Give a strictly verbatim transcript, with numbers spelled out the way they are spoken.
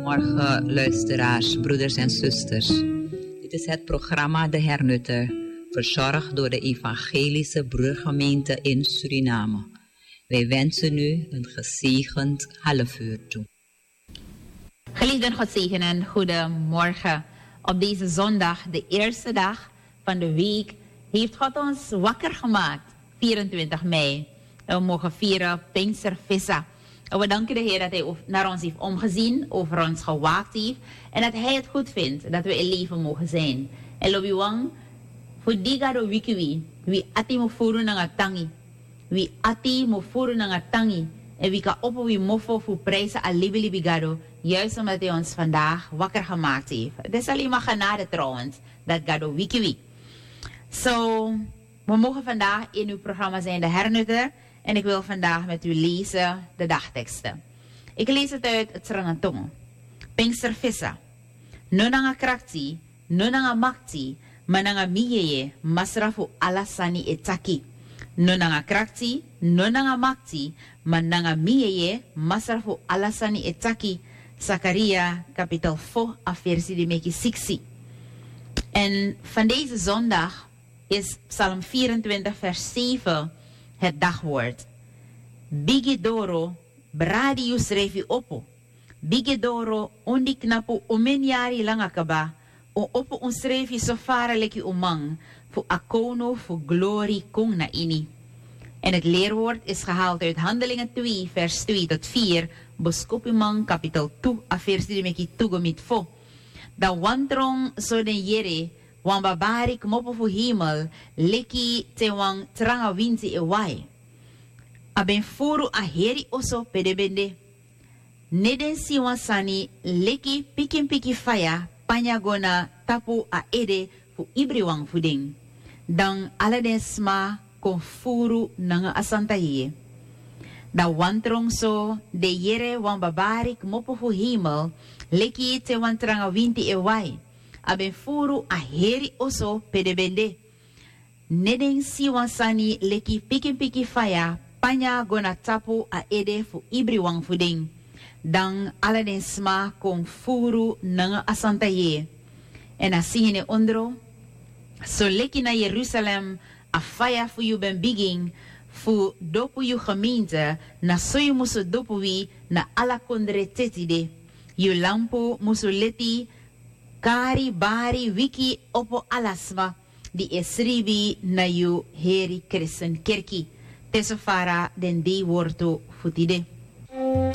Goedemorgen, luisteraars, broeders en zusters. Dit is het programma De Hernutter, verzorgd door de Evangelische Broedergemeente in Suriname. Wij wensen u een gezegend half uur toe. Geliefden, God zegenen, goedemorgen. Op deze zondag, de eerste dag van de week, heeft God ons wakker gemaakt, vierentwintig mei. En we mogen vieren Pinkster Vissa. En we danken de Heer dat Hij ov- naar ons heeft omgezien, over ons gewaakt heeft. En dat Hij het goed vindt dat we in leven mogen zijn. En lobi wan, fu di Gado wiki wi, wi ati mu furu nanga tangi. Wi ati mu furu nanga tangi. En wi kan opo wi mofo fu prijzen a libilibi Gado, juist omdat Hij ons vandaag wakker gemaakt heeft. Het is alleen maar genade trouwens dat Gado wiki wi. So, we mogen vandaag in uw programma zijn, De Hernutter. En ik wil vandaag met u lezen de dagteksten. Ik lees het uit het Sranantongo. Pinkster Vissa. No nanga krakti, no nanga makti, ma nanga mi yeye, Masra fu ala sani e taki. No nanga krakti, no nanga makti, ma nanga mi yeye, Masra fu ala sani e taki. Sakaria, kapitel fo, a versi di meki siksi. En van deze zondag is Psalm vierentwintig, vers zeven het dagwoord. Bigi doro, bradi yusrefi opo. Bigi doro, un di knapu un miniari langa kaba, un opo unsrefi so fara leki un man, fu a kownu fu glori kon na ini. En het leerwoord is gehaald uit Handelingen twee, vers twee tot vier, Boskopiman, kapitel tu, a versi di meki tu go miti fo. Dan wan tron so den yere wan babari kmopo fu hemel, leki te wan tranga winti e wai. A ben furu a heri oso pe den ben de. Ne den si wan sani leki pikinpikin faya panya go na tapu a ede fu ibriwan fu den. Dan ala den sma kon furu nanga a santa yeye. Dan wan tron so den yere wan babari kmopo fu hemel, leki te wan tranga winti e wai. A ben furu a heri oso pe den ben de. Ne den si wan sani leki pikinpikin faya panya go na tapu a ede fu ibriwan fu den. Dan ala den sma kon furu nanga a santa yeye. Èn a si ini ondro, soleki na Yerusalem a faya fu yu ben bigin fu dopu yu gemeente, na so yu musu dopu wi na ala kondre te tide. Yu lampu musu leti kari bari wiki opo ala sma di e sribi na yu heri kristen kerki. Te so fara den dei wortu fu tide.